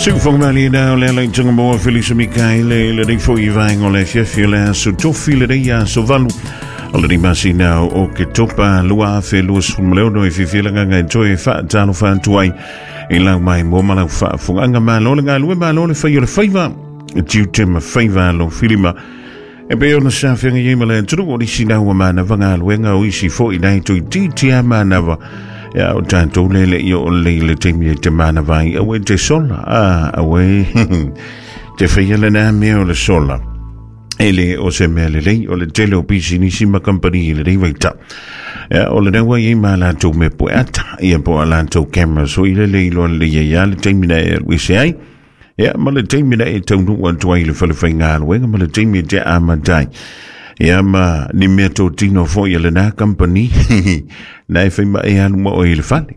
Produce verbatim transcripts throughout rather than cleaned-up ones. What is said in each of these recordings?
Siufoga o le ala i tanga moa Felisa Mikaele le nei foi vaenga o le afiafi o le aso tofi le nei aso valu o le masina o ke topa lua afe lua sefulu ma le ono e fifilaga e toe faatalofa atu ai i lau mai mo ma lau faafogaga malo le galue malo le fai o le faiva tiute ma faiva lo filima e pei ona sa feagai ai ma le atunuu o nisi lau manava galuega o isi foi nai toeitiiti a manava ia o tatou lele i o lei le taimi e te manava ai aue te sola a aue te faia lena mea o le sola e le o se mea lelei o le tele o pisinisi ma kampani i lenei vaitau ia o lena ua iai ma latou mea pueata ia po o a latou cameras foi lele iloa lelei ai a le taimi na e alu ese ai ia ma le taimi na e taunuu atu ai i le falefaigaluega ma le taimi e te amata ai ia ma ni mea totino foi a lena kampani na e fai ma e alu ma oe i le fale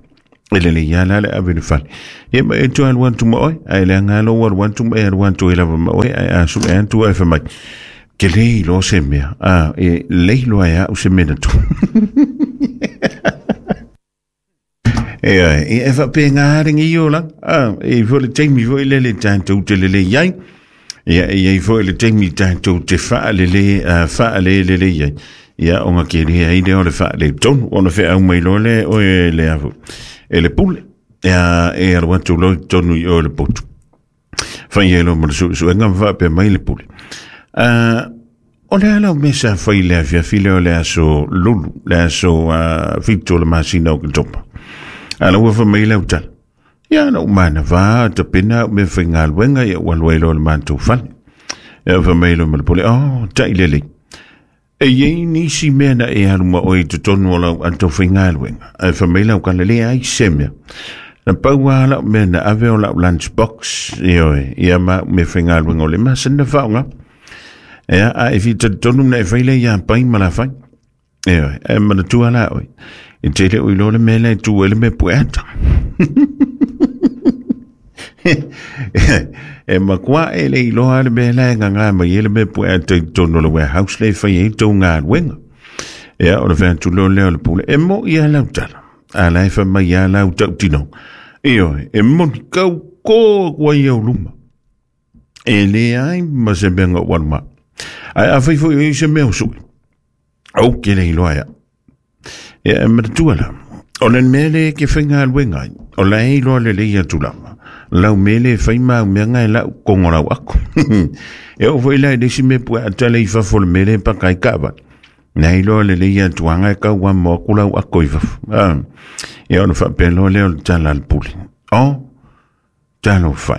e lelei a la le ave i le fale ia ma e toe alu atu ma oe ae leaga lou alu atu ma e alu atu e lava ma oe ae a sue atu ae fai mai ke le iloa se mea a e le iloa e au se mea na tu e e e faapega legi o la a e foi le taimi foi lele tatou te lelei ai ia e iai foi le taimi tatou te faalele faalelelei ai ia ona ke le ai lea o le faaletonu ona feau mai loa lea oe le afu e le pule ia e alu atu loa i totonu i oe le potu fai ai loa ma le suesuega ma faapea mai le pule o le a lau mea sa fai i le afiafi lea o le aso lulu le aso fitu o le masina o Oketopa a la ua fai mai lau tala ia na ou manava tapena au mea faigaluega ia ua alu ai loa le matou fale ia fai mai loa ma le pule oh tai lelei e iai nisi mea na e alu ma oe i totonu o lau ato faigaluega ae fai mai lau kala leai se mea na pau lava lau mea na ave o lau lunch box ioe ia ma au mea faigaluega o le masani na faaaoga ia a e fitalitonu na e fai lea ia pai ma la fai ioe ae manatua la oe e tele o iloa le mea lea e tu ai le mea pueata e makuā e le iloa le mea lea e gaga mai ai le mea pueata i totonu o le warehouse lea e fai ai tou galuega ia o le fai atu loa lea o le pule e mo'i a lau tala a la e fai mai a lau tautinoga ioe e moni kaukō atu ai au luma e leai ma se mea na ou alu ma ae afai foi o i se mea o suʻi ou ke le iloa ia ia e manatua la o le mea lea e ke faigaluega ai o la e iloa lelei atu lava lau mea lea e fai ma au mea nga e lau kogo lau ako e oo foi la i le isi mea pueata le i fafo o le mea lea e paka ai kaavale na iloa lelei atu aga e kau amo aku lau ako i fafo ia ona faapea loa lea o le tala a le pule o talofa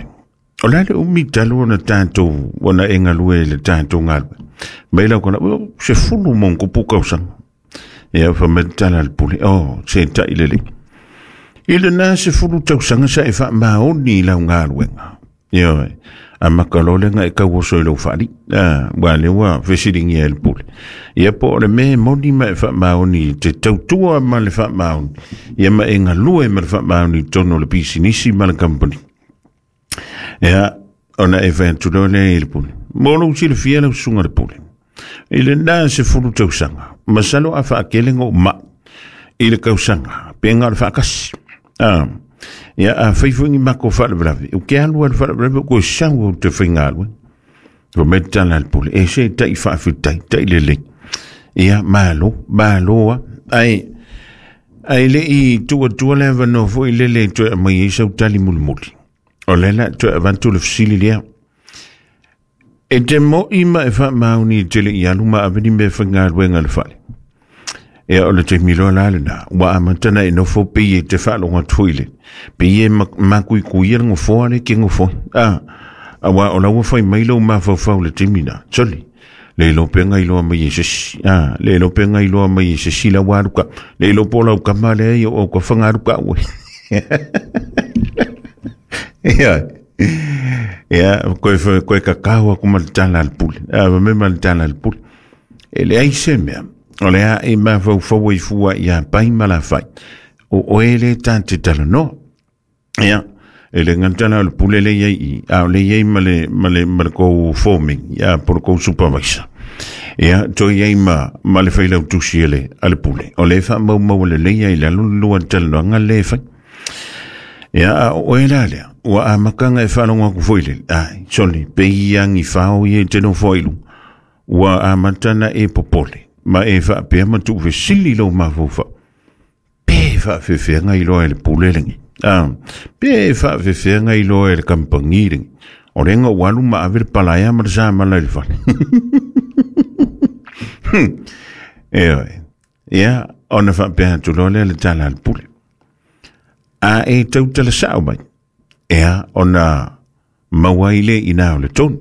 o le a le umi talu ona tatou ona e galue i le tatou galuega mai lau kona sefulu ma ona tupu tausaga ia fai mai le tala a le pule o se tai lelei i lena sefulu tausaga sa e faamaoni i lau galuega ioe amata loa lea na e tauoso i lou faalii ua lea ua fesiligia e le pule ia po o le mea e moni ma e faamaoni te tautua ma le faamaoni ia ma e galue ma le faamaoni i totonu o le pisinisi ma le kampani ia ona e fai atu loa lea i le pule mo lou silafia lau susuga i le pule i lena sefulu tausaga masalo a faakele na ou mai i le tausaga pe na o le faatasi a ia a fai foi ni matou faalavelave ou te alu lava i le faalavelave ou toe sau ou te faigaluega fai mai le tala a le pule e se tai faafetai tai lelei ia malo malo lava ae ae le i tuu atua le avanoa foi lele e toe aumai ai sau tali mulimuli o lea la toe avatu le fesili lea e te mo'i ma e faamaoni i te le i alu ma ave ni mea faigaluega i le fale ia o le taimi loa la lena ua amata na e nofo pei e te faalogo atu foi le pei e makuikuia le nofoa le ke nofo a aua o la ua fai mai lou mafaufau i le taimi na soli le iloa pe na iloa mai e se isi a le iloa pe na iloa mai e se isi la ua alu ka le iloa po o lau kama lea ia o ka fagalu ka ue ia ia koe koe kakao aku ma le tala a le pule a fai mai ma le tala a le pule e leai se mea o le a e mafaufau ai fua ia pai ma la fai o oe le ta te talanoa ia e le gata la o le pule le iai i a o le iai ma le ma le ma le kou foreman ia po o le kou supervisor ia toe iai ma ma le failautusi a le a le pule o le faamaumau lelei ai i lalo le lua talanoaga le e fai Ia a o e la lea, ua a makanga e whalonga ku foile. Ai, soli, pe iangi whao i e teno foilu. Ua a matana e popole. Ma e whaapea matu vesili lo mawhauwha. Pe whaafewhenga i loa e le pule lengi. Ah, pe whaafewhenga i loa e le kampangi lengi. O renga walu ma ave le palaia ma le sa mala i le whale. E oe. Ia, ona whaapea atu loa lea le tala le pule. A e tautala sao mai. Ea, ona maua ile ina o le tonu.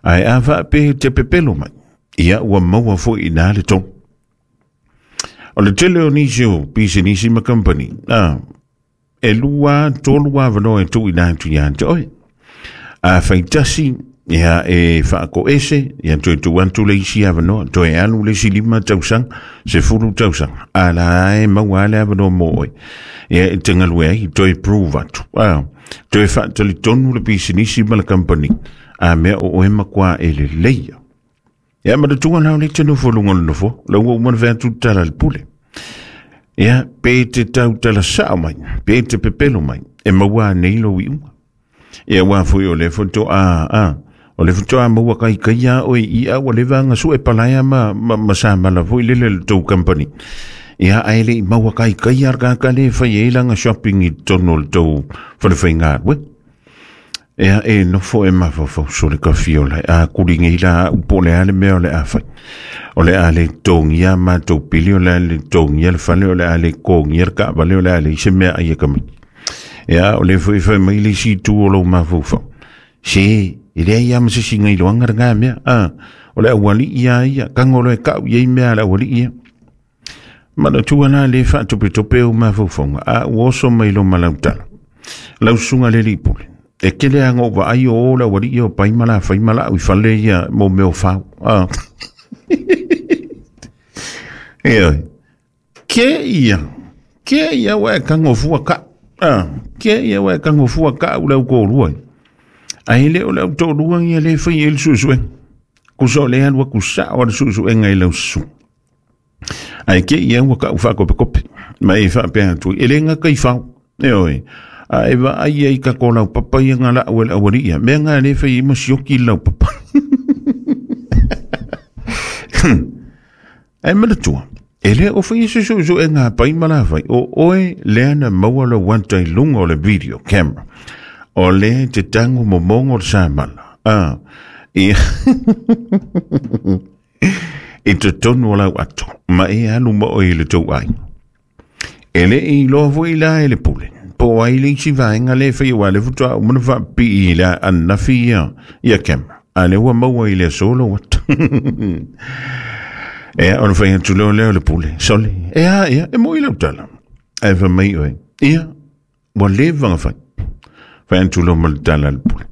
Ai a whaapea te pepelo mai. Ia, ua maua fo ina le tonu. O le tele o nisi o pisinisi ma company. Ah, e lua, tolu avanoa e tu ina atu ia te oe. A whaitasi, ia e whaako ese, ia toe tu antu le isi avanoa, toe alu le isi lima tausanga, se fulu tausanga. A la e maua ale avanoa mo oe. Ia e te ngalue ai, toe prove atu. Ah, toe whaatali tonu le pisinisi ma le company. A mea o oe makua e le leia. Ia ma le tunga lau le te nofo lunga le nofo, lau ua umana vea tu tala le pule. Ia, pe te tau tala sao mai, pe te pepelo mai, e maua nei lo i unga. Ia wā fui o le foto a, a, o le foto a maua kai kai a oi i a ua lewa nga su e palaia ma, ma, ma sa mala fui lele le tau company. Ia ai le maua kai kai a ka le whai e langa shopping i tono le tau whalewhai ngā we. Ia e nofo e mawhawhau so le kawhio lai a kuri ngei la upo le ale mea o le a whai. O le ale tongia mātou pili, o le ale tongia le whale, o le ale kongia le kaavale, o le ale ise mea ai e kamai. Ia o le fui fai mai le si tu o lau mawhawhau. Se, e lea ia ma se singa i loanga le ngā mea. A, o le awali ia ia, kangolo e kau ia i mea le awali ia. Mana tua la le whaatope tope o mawhawhaunga, a uoso mai lo malautala. Lau sunga le lipule. E kele anga o vaai o o la wali ia o paimala whaimala ui whale ia mo meo whau. Ah. E oi. Ke ia. Ke ia wa kango fua ka. Ah. Ke ia wa kango fua ka u lau kōrua. Ai le o lau tōrua ia le whai e le susuenga. Kuso le alua kusa o le susuenga i lau susu. Ai ke ia ua ka u whakope kope. Ma e whaapea atu. E le ngā kai whau. E oi. A e va ai ai ka ko lau papa ia ngā la awel awari ia. Mea ngā le whai ima sioki lau papa. Ai mana tua. E le o whai su su su e ngā pai mala whai. O oe lea na maua lo wanta i lunga o le video camera. O le te tango momongo le samala. Ah, i I te tonu o lau ato. Ma e alu mo o i le tau ai. E le i loa fo i la e le pule. Po ai le isi vaenga le whai o ale futua o mana whaapi i la anafi ia, ia camera. A le ua maua i le solo wat. E a ona whai atu leo leo le pule. Sole. E a ia, e mo i lau tala. E wha mai oe. Ia, ua le vanga whai. Whai atu leo ma le tala le pule.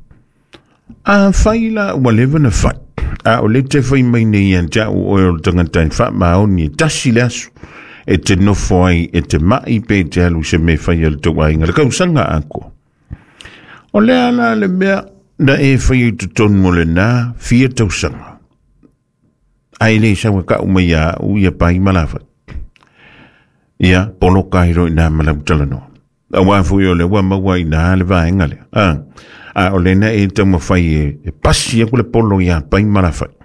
A whai la ua le vana whai. A o le te whai mai nei an tia o oe o le tangata i wha maoni e tasi le asu. E te nofo ai, e te mai pe te alu se me whai al tau ainga. Le kausanga ako. O le ala le mea na e whai i te tonu mo le nā fia tausanga. Ai le sawa ka umai a ui a pai malawha. Ia, polo kairo i nā malau talanoa. A wā fui o le wā maua i nā le vaenga le. A, a o le na e tau mawhai e, e pasi aku le polo i a pai malawhai.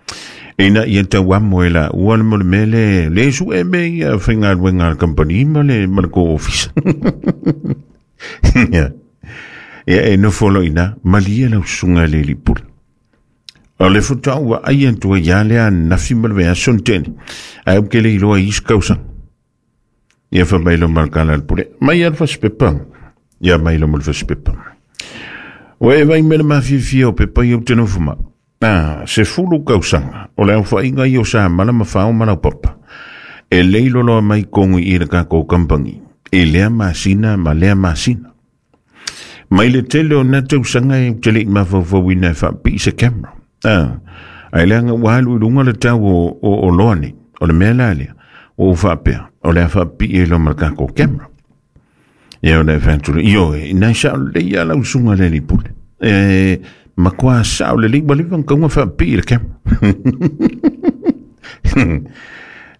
Ina ia tau amo e la ua le mole mele le su e me ia whainga luenga le company ma le ma le ko office. Ia, ia e nofo lo ina malia lau sunga le lipula. O le futa ua ai antua ia lea nafi ma le vea sontene. Ai uke le iloa is kausa. Ia fa mai lo malkala le pule. Mai al fasipepa. Ia mai lo mal fasipepa. Oe e vai mele mawhiwhia o pepa i au te nofo ma. Ah, se fulu kausanga, o le au i o sa mala mawhao malau papa. E leilo loa mai kongu i le kako kampangi. E lea masina ma lea masina. Mai le tele o na tausanga e tele i mawhawhawina e whaapi se camera. Ah, ai lea nga wahalu i lunga le tau o, o, o loa nei. O le mea la lea, o whaapea, o lea whaapi e lo ma le kako camera. Ia o le whaatule, io e, nai sa o le ia lau sunga le lipule. E, makwa sa o le liwa liwa kaunga whaapi le camera.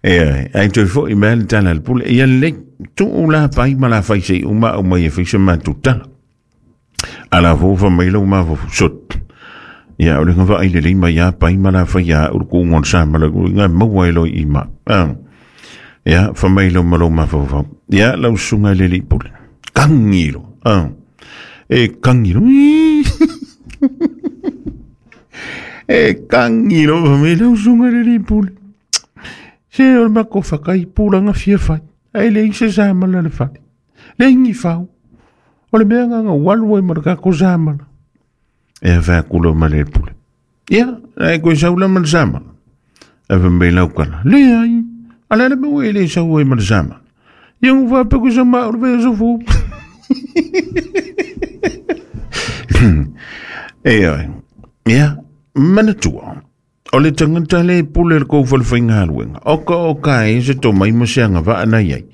E, ai toi fo i mea le tala le pule, ia le, Tuu la pai ma la fai se uma o mai e fai se mātou tala. Ala fōfa mai lau mafaufau sot. Ia o le ngava ai le lei mai a pai ma la fai a uru ku ngon sa ma la ngā maua e loi i ma. Ia fa mai lau ma lau mafaufau. Ia lau sunga le li pule. Kangiro. E kangiro. E kangiro fa mai lau sunga le li pule. Se o le mako whakai pūranga fia whai. Ai le ise samala le whai. Le ingi whau. O le mea nganga walu e maraka ko samala. E wha kula ma le pule. Ia, ai koe saula ma le samala. E wha mei lau kala. Le ai. Ala le mea e le sau e ma le samala. Ia ngu wha peku sa ma uru vea sofu. E ai. Ia, manatua. O le tangata le pule le kou whalewhainga haluenga. Oka oka e se tō mai mo seanga waa nai ai.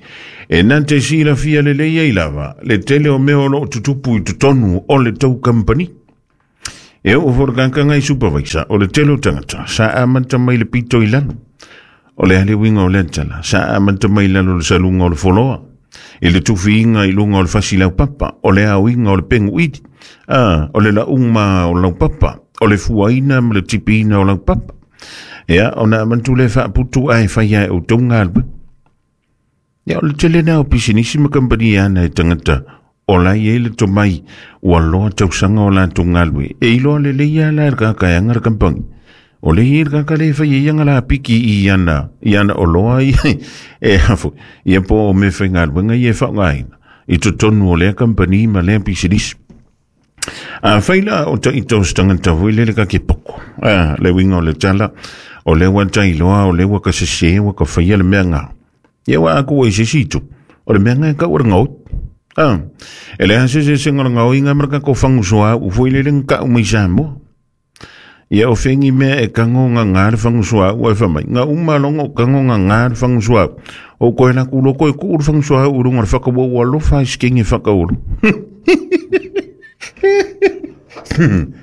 E nā te sila fia le lei ai lava. Le tele o mea o loo tutupu i tutonu o le tau kampani. E o whorokaka ngai supervisor o le tele o tangata. Sa amanta mai le pito i lalo. O le hale winga o le antala. Sa amanta mai lalo le salunga o le foloa. I le tufiinga i lunga o le fasi lau papa. O le auinga o le pengu iti. Ah, o le lauma o lau papa. O le fuaina ma le tipiina o lau papa. Ia, o nā mantu le whaaputu ai whai ai o tōnga alwe. Ia, o le tele nā o pisinisi ma kampani ana e tangata. O lai e le tomai ua loa tausanga o la tōnga alwe. E iloa le leia la e kaka e anga le kampangi. O le i le kaka le whai e ianga la piki i ana, i ana o loa i e hafu. Ia po o me whainga alwenga i e whaongaina. I totonu o lea kampani ma lea pisinisi. A whaila o ta ito stangata vui lele ka ke poko. A, le winga o le tala, o le wa tailoa, o le wa ka sese, wa ka whaia le mea ngā. Ia wa aku e sesi tu, o le mea ngā ka ura ngau. A, e le hase se se ngā ngau inga marka ko whangusoa, u fui lele ngā umai Samoa. Ia o whengi mea e kango ngā ngā le whangusoa, ua e whamai. Ngā uma longo kango ngā ngā le whangusoa. O koe la kulo koe ku uru whangusoa, urunga le whakawa ua lofa iskenge whakauru.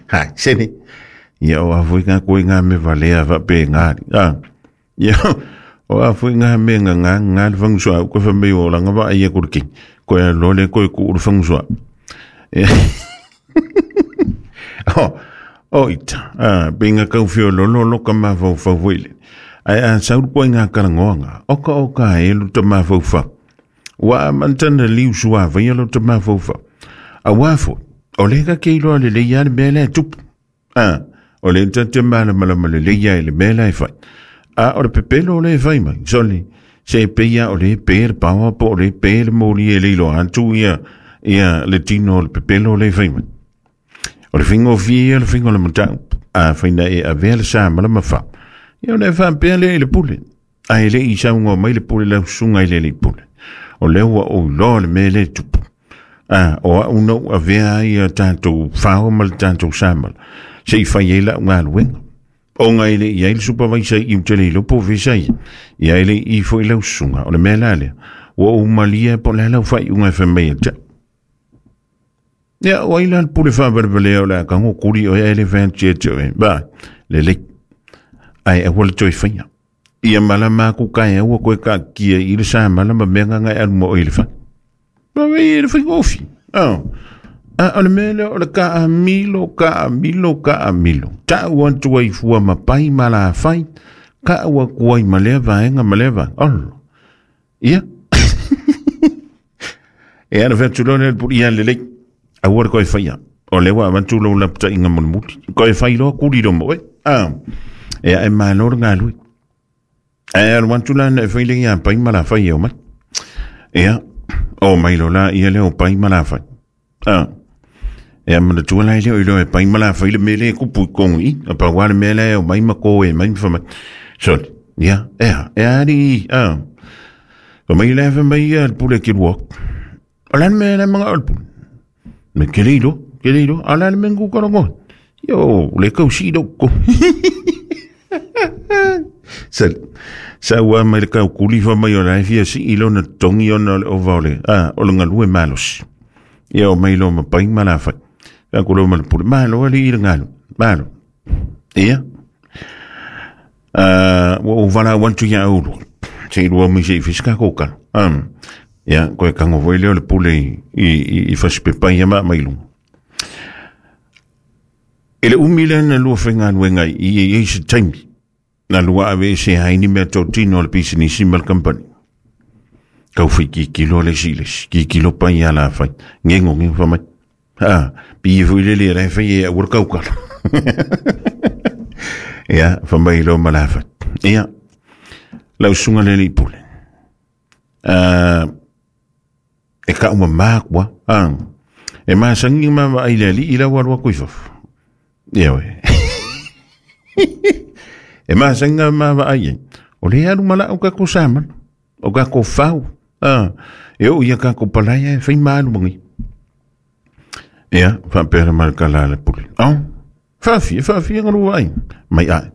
Hai, sene. Ia o awhui ngā koe ngā me valea wape ngā. Ah. Ia o awhui ngā me ngā ngā ngā le whangusua. Koe whamei o langa wa ia kore ki. Koe a lole koe ku uru whangusua. O, o ita. Ah, pe ngā kauwhio lolo lo ka mawhau whauwele. Ai a sauru koe ngā karangoa ngā. Oka oka e lo ta mawhau whau. Wa mantana liu sua vai lo ta mawhau whau. A wafo. O le ka ke iloa le leia le mea lea tupu. Ah, o le tate mala mala mala leia le mea lea fai. Ah, o le pepelo o le fai mai. Soli, se peia o le pe le pawa po o le pe le moli e le iloa atu ia, ia le tino o le pepelo o le fai mai. O le fingo fia, le fingo le matau. Ah, faina e avea le sa mala mawha. Ia o le whampea le i le pule. A e le i saunga mai le pule lau sunga i le le pule. O le ua o iloa le mea le tupu. Ah, o a unau a vea ai a tātou whao ma le tātou samal. Se i whai e lau ngā luenga. O ngā ile i aile supervisor i utele i lopo vesa i. I aile i fo i lau sunga. O le mea lea. Ua o malia po le lau whai unga e whamei a tia. Ia, o aila le pule whaabalbalea o le akango kuri o aile whantia te oe. Ba, le le. Ai, a wala toi whaia. Ia mala māku kai aua koe ka kia i le samala ma mea ngā ngai alu mo o i le whai. Ma wei le whaingofi. Oh. A o le mele o le ka a milo, ka a milo, ka a milo. Ta ua tua i fua mapai ma la whai. Ka ua kuai ma lea vaenga ma lea vaenga. Olo. Ia. E ana whatulo le puri ia lelei. A ua le koe whaia. O lewa avantu lau lapta inga molimuti. Koe whai loa kuri romo e. Ah. E a e māloro ngā lui. E a wantu la na e whai le ia pai ma la whai e o mai. Ia. O mai lo la ia leo pai ma la whai. Ah. E a mana tua lai leo i leo e pai ma la whai le mele e kupu i kongu i. A pa wale mele e o mai ma koe mai ma whamai. So, ia, ea, ea ari, ah. O mai le wha mai ia le pule ki rua. O lan mele mga o le pule. Me kele ilo, kele ilo, a lan me ngu karango. Yo, le kau si doko. Sa, sa ua mai le kau kuli wha mai o lai fia si ilo na tongi ona le ova o le, ah, o le ngalue malos. Ia o mai lo ma pai ma la whai. Ka kulo ma le pule, malo ali i le ngalo, malo. Ia. Uh, wa o wala wantu ia aulu. Se ilua mai se i fiska kōkalo. Um, Ia, koe kango voi leo le pule i, i, i, i fasipepa ia maa mailunga. E le umi lea na lua whaingaluenga i i i se taimi. Na lua ave se haini mea tōtino le pisinisi ma le kampani. Kau whai ki kilo le si lesi, ki kilo pai a la whai. Ngengo ngengo whamai. Ha, pi fui lele le whai e awar kaukala. Ia, whamai lo ma la whai. Ia, lau sunga lele i pule. Uh, e ka uma mākua. Ah, e maasangi ma ma ai le ali i lau alua kuifafu. Ia we. E maasanga ma ma ai. O le alu mala o ka ko saman. O ka ko fau. Ah, e o ia ka ko palaia e whai maalu mangi. Ia, whapera mal kala le pule. Oh, whawhia, whawhia ngaru ai. Mai ai.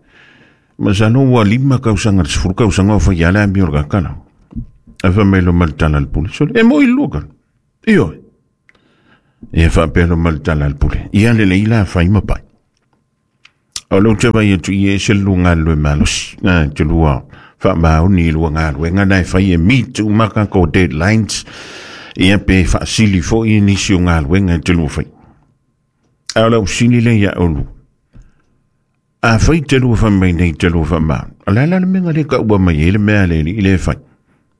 Masano ua lima kausanga, sefuru kausanga o whai ala ami o le kakala. E wha mal tala le pule. So, e mo i lua kala. Iyo. Ia whapera mal tala le pule. Ia le leila whai mapai. O leo te vai atu i e se lua ngā lue malosi. Ngā te lua wha maoni lua ngā lue. Ngā nai whai e mitu maka ko deadlines. Ia pe whaasili fo i nisi o ngā lue ngā te lua whai. A leo sili le ia o lua. A whai te lua wha mai nei te lua wha maoni. A la la le menga le ka ua mai e le mea le i le whai.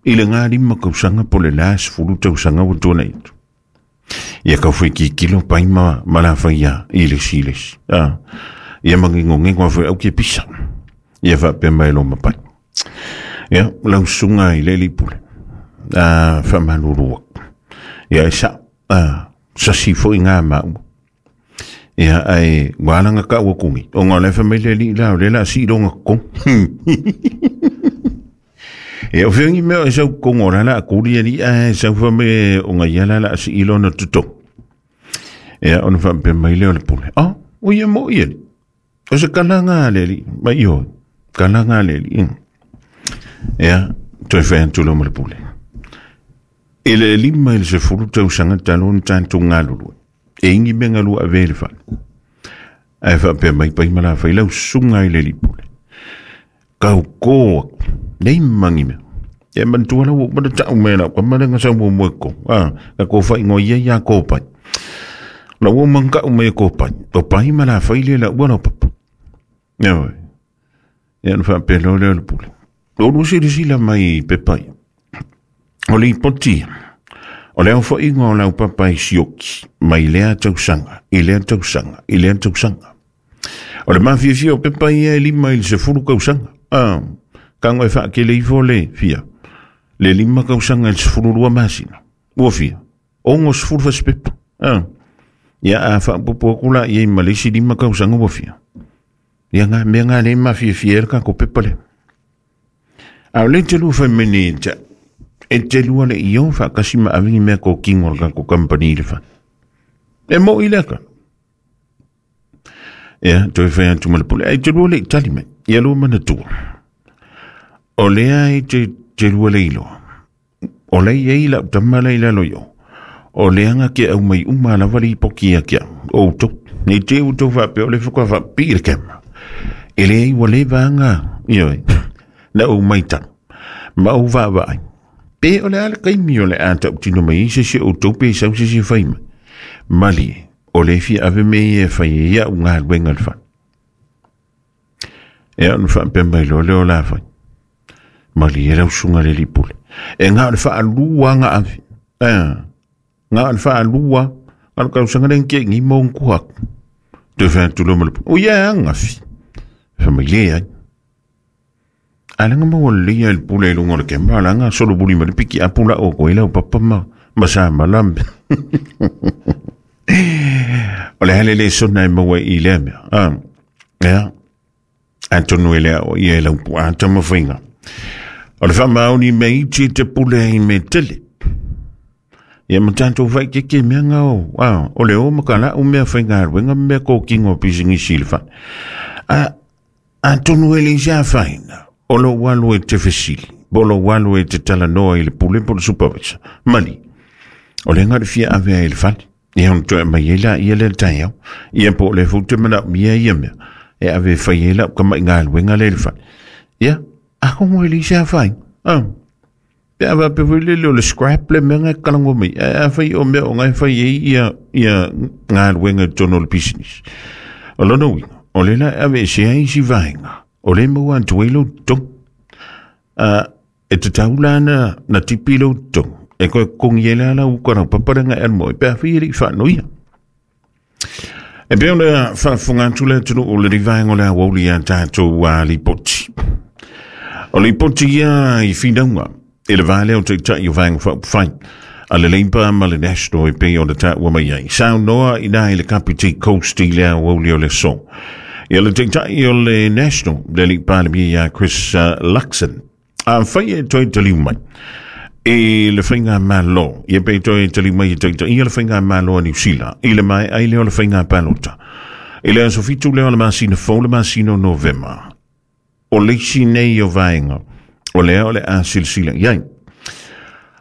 I le ngā lima kausanga po le las fulu tausanga wa tōna itu. Ia ka whai ki kilo pai ma, ma la whai ia i le si le si. Ah. Ia mangingo ngengo awhi au ke pisa. Ia wha mai lo mapai. Ia, lau sunga i le pule. Ah, wha malurua. Ia e sa, ah, sasi fo i ngā maua. Ia, ai, walanga ka ua kungi. O ngā lefa mai le li lau, le la si ronga kong. Ia, o whiangi mea e sau kongo la la kuri ali, a e sau wha me o ngā ia la la si ilona tuto. Ia, ona wha pe mai leo le pule. Ah, o ia mo ia li. O se kalanga le li, mai iho, kalanga le li. Ia, toi whae antulo mo le pule. E le lima il se furu tau sanga talon tantu ngalulu. E ingi me ngalu a vele whale. Ai wha pe mai pai mala whai lau sunga i le li pule. Kau koa, nei mangi mea. E mantua lau mana tau mea lau, ka mana ngasa mua mua ko. Ah, ka ko whai ngoi ia ia ko pai. Lau o mangka o mea ko pai. O pai mala whai le lau wana papa. Ia wai. Ia na wha pe leo leo le pule. O lusi risi la mai pe pai. O le ipoti. O leo wha ingo o lau papa i sioki. Mai lea tausanga. I lea tausanga. I lea tausanga. O le mafiafia o pepa ia e lima i le sefulu kausanga. Ah, kango e whaakele ifo le fia. Le lima kausanga i le sefulu lua masina. Ua fia. Ongo sefulu fasipepa. Ah. Ia a whaapopo akula ia i malesi lima kausanga ua fia. Ia ngā mea ngā le mafiafia e kako pepa le. A o le te lua whaimene e ta. E te lua le iyo whaakasi ma avingi mea ko kingo le kako kampani le wha. E mo i leka. Ia, toi whai atu ma le pule. E te lua le itali mai. Ia lua mana tua. O lea e te, te lua le iloa. O le ia i lau tamala i lalo yo. O lea nga ke au mai uma la wali ipoki ia kia. O tau. Nei te u tau whape o le whuka whapi le kema. E le i wale vanga. Ia e. Na o mai tau. Ma o vaa Pe o le ala kaimi o le ata o tino mai se se o tau pe sau se se whaima. Mali e. O le fia ave me e whai e ia u ngā luenga le wha. E au na wha mai lo leo la whai. Mali e rau sunga le li pule. E ngā le wha alua ngā awi. Ngā le wha alua. Ngā le kausanga le nge ngi maung kuhak. Te wha tulo ma le pule. O ia ngā fi. Wha mai le ai. Alanga maua le ia le pule e lunga le kemba. Alanga solo buli ma le piki apula o koe lau papa ma. Masa malambe. O le hele le sona e maua i lea mea. Ah, ea. Antonu e lea o ia e lau pua ata mawhainga. O le whamaoni me iti te pule i me tele. Ia matantou whai ke ke mea ngā o. Ah, o le o makala o mea whainga aruenga mea kōkingo pisingisi le wha. Ah, Antonu e le isa whaina. O lo walu e te fesili. Bolo walu e te talanoa i le pule po le supervisor. Mali. O le ngā fia avea i le whale. Ia hon toe mai e la ia le taiau. Ia po le fute mana mia ia mea. E ave whai e la ka mai ngā luenga le le whale. Ia, a kongo e le isa whai. Ah. Pe a pe foi le le scrap le mea ngai kalango mai. A fai o mea o ngai fai ei ia ia galuega i totonu o le business. O lona uiga, o le la e ave se ai si vaega. O le maua atu ai lou totogi. E tatau la na, na tipi lou totogi. E koe kongi e la la uka rau paparanga e almo e pe a fai e le i whaanoia. E pe o le whaafunga atu le atunu o le rivaenga o le awauli a tātou a lipoti. O lipoti ia i whinaunga e le vālea o taitai o vaenga whaupawhai a le Labour ma le National e pe o le tāua mai ai. Sao noa i nā i le Kapiti Coast i le awauli o le so. Ia le taitai o le National, le li palemia ia Chris uh, Luxon. A whai e toi taliu mai. E le whainga malo, ia pe toi tali mai e taita ia le whainga malo a New Zealand, i le mai ai leo le whainga palota. I le aso fitu leo le masina fou le masina o Novema. O leisi nei o vaenga, o lea o le a silsila iai.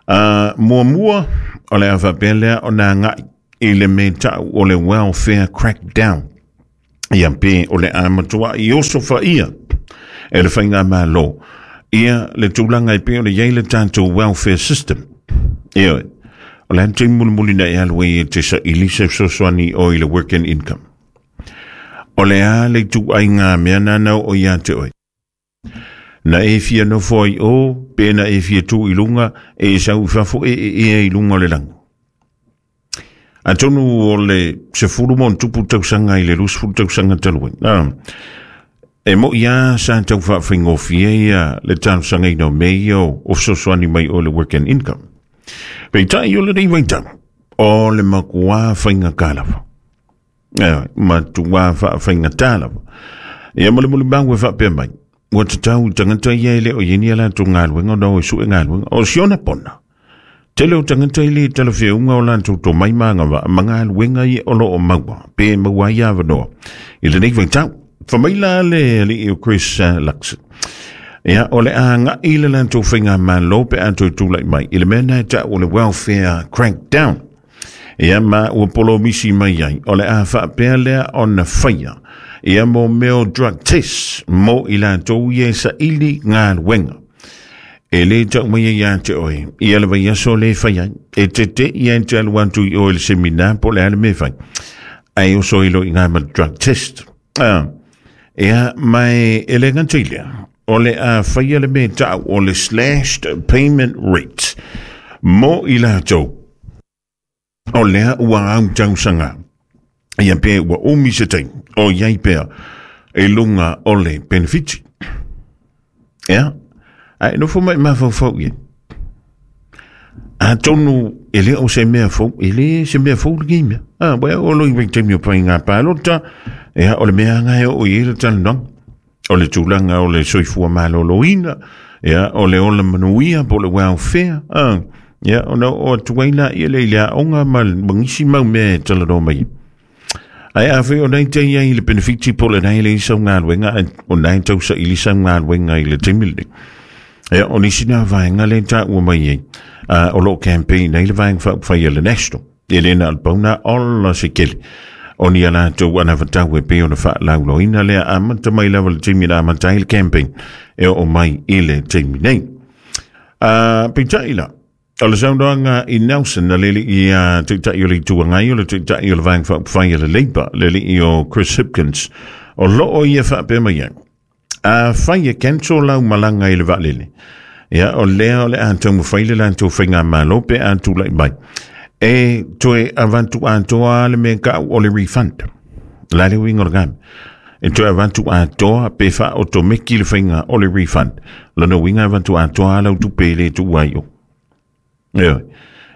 Uh, mua mua, o le a whapea lea o nā ngai, i le me tau o le welfare crackdown. Ia pe o le a matua i oso whaia, e le whainga malo. Ia le tūlanga i pe o le iei le tātou welfare system. Ia, o le ante mulimuli na e alu e te sa ilisa sosoani o i le work and income. O le a le tū ai ngā mea nānau o ia te oe. Na e fia nofo ai o, pe na e fia tū i lunga, e sau fafo e e e i lunga o le langu. Atonu o le se furu mon tupu tausanga i le lusfuru tausanga taluen. Ah. E mo ia sa tau whaawhaingofie ia le tausaga ina o mei o o fesoasoani mai o le work and income. Peitai o le rei vaitau, o le makua whainga kālava. E, matua whaawhainga tālava. Ia mo le muli mau e whaapea mai. Ua tatau tangata ia ele o yeni ala tō ngāluenga o nao e sue ngāluenga o siona pona. Tele o tangata ile tala whiunga o lantou tō mai maanga wa mangāluenga i olo o maua. Pe maua ia wanoa. I le nei vaitau. Whamaila le li o Chris uh, Luxon. Ia, o le a ngā i le lantou whainga malo pe anto i tūlai mai. I le mea nai ta o le welfare crackdown. Ia, ma ua polo misi mai ai. O le a whaapea lea o na whaia. Ia mo meo drug test mo i lantou ia sa ili ngā wenga. E le tau mai ia te oe. Ia le vai aso le whaia. E te te ia te alu antu i oe le seminar po le ale me whai. Ai o so ilo i ngā ma drug test. Ah. Ia mai e le ngantilia, o le a whaia le me tau o le slashed payment rate mo i lātou o lea ua au tausanga. Ia pe ua umi se tei o iai pea e lunga o le benefiti. Ia, ai nofo mai mafaufau ia. A tonu e le o se mea fou, e le se mea fou le gimea. Ah, wea o lo i wei o pai ngā pālota, ia o le mea ngai o i le talanong. O le tūlanga o le soifua maloloina, ia o le ola manuia po le welfare. Ah, ia o na o tuaila ia le ilea onga ma mangisi mau mea e talanoa mai. Ai a whai o nei te ia i le benefiti po le nei le isau ngā luenga, o nei tausa i lisa ngā luenga i le timili. Ia o nisi nā vaenga le tā ua mai ei. Uh, o lo campaign nei le vaenga whaupawhai le National. E le na alpauna ola se kele. O ni ala tau ana whatau e pe o na whaalauloina lea amata mai lava le timi la amata i le campaign. E o mai i le timi nei. Uh, Peitai la. O le saundoanga i Nelson na lele i uh, teitai o le tuangai o le teitai o le vaenga whaupawhai le Labour lele i o Chris Hipkins. O loo ia whaapea mai ai. A whai e cancel lau malanga i le vaalele. Ia, o lea o le antou mawhai le lantou whainga malo pe antou lai mai. E toe avantu antoa le mea kau o le refund. La le wingo le gam. E toe avantu antoa pe wha o to meki le whainga o le refund. Lano winga avantu antoa lau tupe le tu waio. Ia,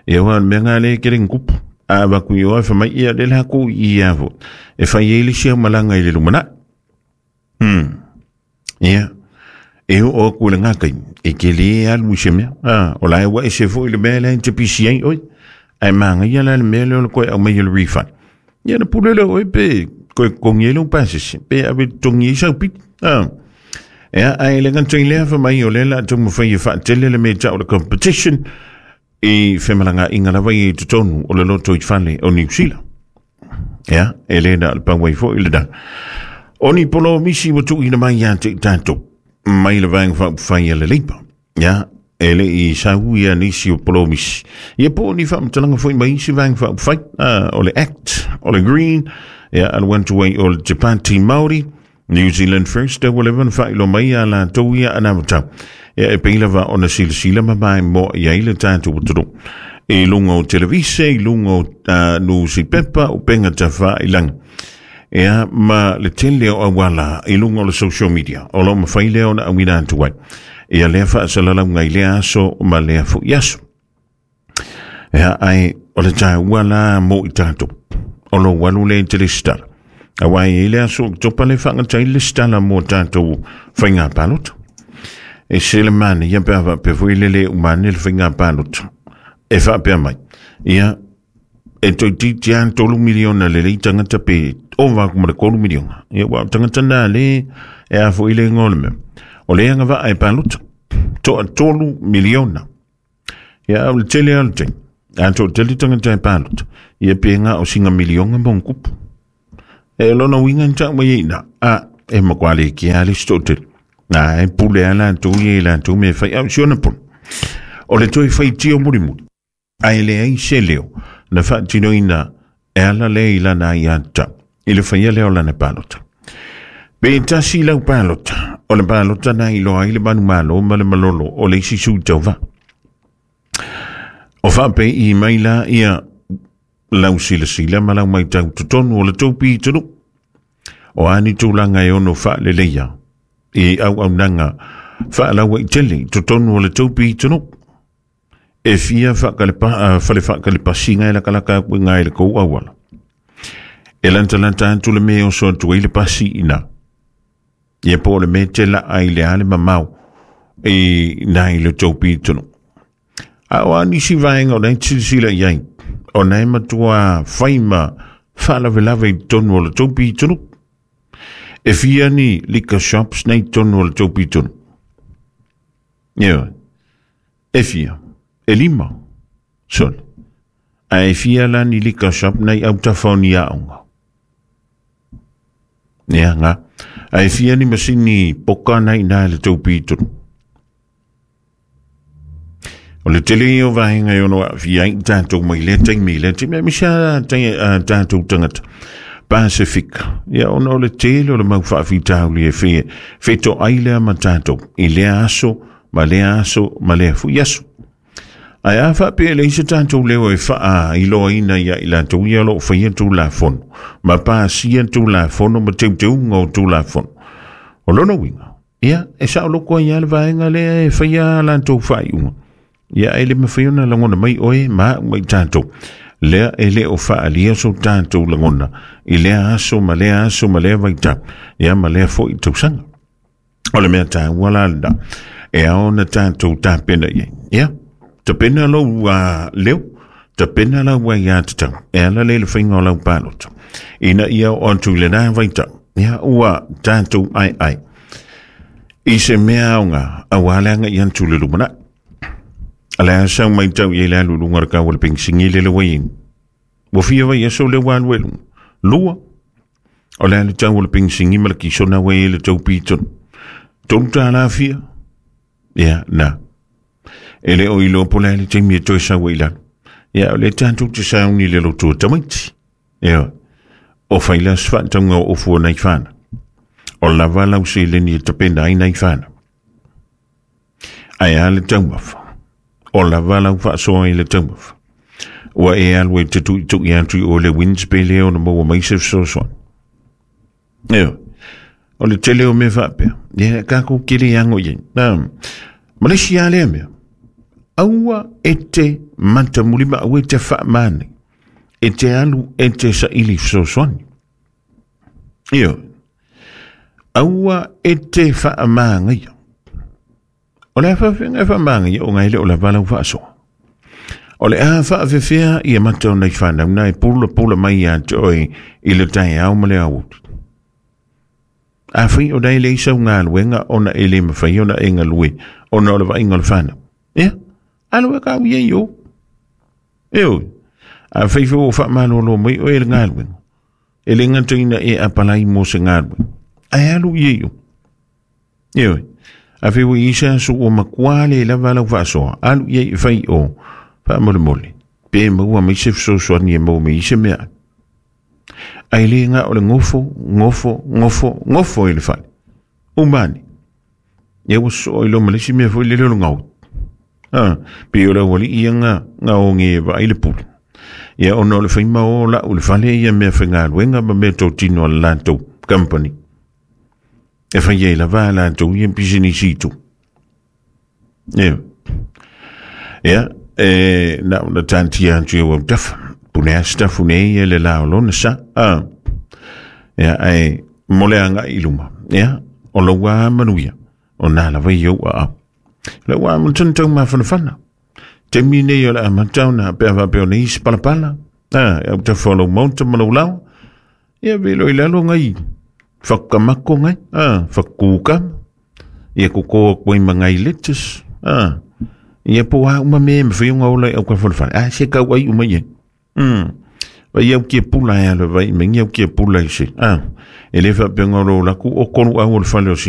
ia wa mea ngā le kere ngupu. A waku i oa whamai ia le lako i ia fo. E whai e le sia malanga i le lumana. Hmm. Ia. E o o ku le ngā kai. E ke le alu i se mea. Ah, o la e wa e se fo i le mea le te P C A oi. Ai manga ia la le mea le o le koe au mai le refund. Ia na pule le oi pe koe kongi e le upasese. Pe awe tongi i sau piti. Ah. Ia ai le ngantoi lea fa mai o le la tunga whai e whaatele le mea tau le competition i whemalanga inga lava i totonu o le loto i whale o New Zealand. Ia, e le na le pangwai fo i le dang. O ni polo misi wa tuina mai ia te tātou. Mai le vaenga whaupawhai a le Labour. Ia, E le i sau ia nisi o polomisi. Ia po ni whaamatalaga foi mai isi vaega faaupufai, o le Act, o le Green, ia alu atu ai o le Te Pāti Māori, New Zealand First, ua leva ona faailoa mai ia latou ia anavatau. Ia e pei lava ona silasila ma maimoa i ai le tatou atunuu. I luga o televise, i luga o uh, nusipepa, o penga tafailaga. Ia ma le tele o auala i luga o le social media, o lo mafai lea ona auina atu ai. Ia lea faasalalauga i lea aso ma lea foi aso. Ia ai o le taua la mo i tatou. O lo alu lea i te lesitala. Auā e i le aso Oketopa le faagatai le lesitala mo tatou faiga palota. E se le manaia ia pe a faapea foi le lē uma ane le faiga palota. E faapea mai. Ia e toeitiiti lava tolu miliona lelei tagata pe ova atu ma le tolu miliona. Ia ua o tagata na lē e a foi le igoa o le mea. O le agavaa e palota. Toa tolu miliona. Ia au le tele lava o le taimi. A toatele tagata e palota. Ia pe na o sina miliona ma ona tupu. E lona uiga na tau mai ai i ina. A e matua le kea lava le isi toatele. Na e pule lava latou ia i latou mea e fai. A o si ona pono. O le toe faitio mulimuli. Ae leai se leo na faatinoina e ala lea i lana aiatatau i le faia lea o lana palota. Pe tasi lau palota, o le palota na iloa ai le manumalo ma le malolo o le isi sui tauvā. O faapei mai la ia lau silasila ma lau maitau totonu o le tou pitonuu. O a ni tulaga e ono faaleleia i auaunaga faalauaitele i totonu o le tou pitonuu. E fia faakalepa, fale faakalepasiga e lakalaka atu i ina i le kou auala. E lantalanta atu le mea e oso atu ai le pasi i ina. Ia po o le mea te laa i le a le mamao i ina i le tou pitonuu. A o a nisi vaega o lena e te silasila i ai, o lena e matua fai ma faalavelave i totonu o le tou pitonuu. E fia ni liquor shops nei i totonu o le tou pitonuu. Ioe. E fia. E lima. Sole. Ae fia la ni liquor shop nei autafa o ni aoga. Ia, nga. Ae fia ni masini poka nei i ina i le tou pitonuu. O le tele ia o vaega e ono aafia ai tatou mai lea taimi i lea taimi, aemaise lava tatou tagata Pasifika. Ia ona o le tele o le mau faafitauli e fe, fetoai lea ma tatou i lea aso ma lea aso ma lea foi aso. Ae a faapea e leai se tatou leo e faailoaina ia i latou ia o lo o faia Tulafono ma pasia Tulafono ma teuteuga o Tulafono. O lona uiga, ia e saoloko ai lava le vaega lea e faia latou faaiuga. Ia e le mafai ona lagona mai oe ma au ma i tatou. Lea e le o faaalia so tatou lagona i lea aso ma lea aso ma lea vaitau. Ia ma lea foi tausaga. O le mea taua la lena, e ao ona tatou tapena i ai. Ia, tapena lou uh, leo, tapena lau aiatatau, e ala lea i le faiga o lau palota. Ina ia oo atu i lena vaitau, ia ua tatou aeae i se mea aoga auā le agai atu i le lumanai. O le a sau maitau i ai le alu i luga o le kau o le penisini lele ua i ai. Ua fia vaiaso lea ua alu ai i luga. Lua, o le a le tau o le penisini ma le kisona ua i ai i le tou pitonuu. Tolu tālā fia? Ia, na. E le o iloa po o le a le taimi e toe sau ai i lalo. Ia, o lea tatou te sauni i le loto o tamaiti. Ia, o fai la se faatauga o ofu o nai fanau. O lava lau seleni e tapena ai nai fanau. Ae a le taumafa? O lava lau faasoa i le taumafa. Ua e alu e te tuitui atu i o le Wins pe le ona maua mai se fesoasoani. Ia, o le tele o mea faapea. Ia, tatou kele ago i ai. Na, ma le isi lava lea mea. Aua e te matamuli ma aua e te faamānai. E te alu e te saili fesoasoani. Ioe. Aua e te faamagaia. O le a faafefea e faamagaia ona e le o lava lau faasoa. O le a faafefea ia mata o nai fanau na e pulapula mai ia te oe i le taeao ma le aoauli. Afai o la e leai sau galuega ona e le mafai ona e galue ona o le vaaiga o le fanau. Ia, alu e kau i ai o. Ioe. Afai foi ua faamalolo mai oe i le galuega, e le gata ina e apalai mo se galuega, ae alu i ai o. Ioe. A fe ua isa su o makua le lava lau faasoa, alu ia i fai o, faamolemole, pe maua mai se fesoasoani e maua mai se mea. Ai le nga o le gofo, gofo, gofo, gofo i le fale. Umani. Ia ua soo i lo ma le isi mea foi lele o le gau. Ah, pe o le auali ia nga, nga o nge vaai le pule. Ia ona o le faima o lau le fale ia mea faigaluega ma mea totino a le latou company. E fai ai lava a latou ia pisinisi itu. Ia. Ia, e na ona taatia atu i au autafa. Pune a sitafu nei e le la o lona sa. Ah. Ia, ae mo le agai i luma. Ia, o lou a manuia. O nā lava i ou aao. Lau a mo tana tau mafanafana. Taimi nei o le amata ona pe a faapea o nei isi palapala. Ah, e au tafa o lau maota ma lau lao. Ia velo i lalo ngai whakamako ngai, ah, whakukama. Ia koko koe ma ngai lettuce. Ah, ia po a uma me me whiunga ola i au ka whale. Ah, se kau ai uma ia. Mm. Vai au kia pula e alo vai, me ngi au kia pula i se. Ah, e le whapenga o laku o konu au o le whale o si.